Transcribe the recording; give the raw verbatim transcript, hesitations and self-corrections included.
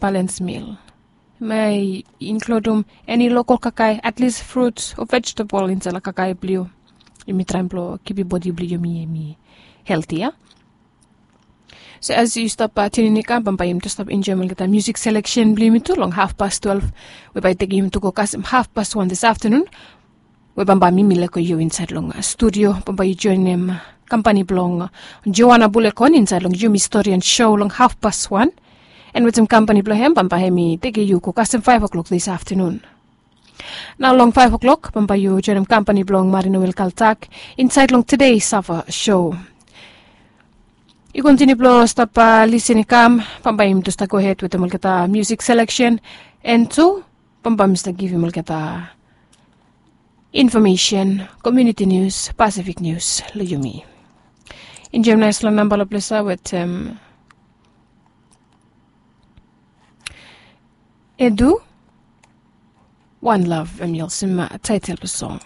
balance meal. Hemia i inkludum eni lokol kakae, at least fruits o vegetable insaed long kakae blong yu. Yumi traem blong kipim bodi blong yumi hemi helti ya. So as yu stap tiunin i kam, bambae yumi tu stap enjoem olgeta musik seleksen blong yumi tu long hafpas twelef, we bae i tekem yumi tu go kasem hafpas wan disaftenun. We bambae mi mi leko yu insaed long studio, bambae yu joenem kampani blong Joana Bulekon insaed long Yumi Stori and Show long hafpas wan. And wetem kampani blong hem, bambae hemi tekem yu go kasem faef o'klok disaftenun. Nao long faef o'klok bambae yu joenem kampani blong Marino Wilkaltak insaed long Today Sava Show. Yu kontiniu blong stap lisin i kam, bambae yumi tu stap gohed wetem olgeta musik seleksen. And tu bambae mi stap givim olgeta infomesen, komuniti nius, Pasifik nius long yumi. Enjoem naes long namba long ples ya wetem Edu, One Love, hemi olsem taetel blong song.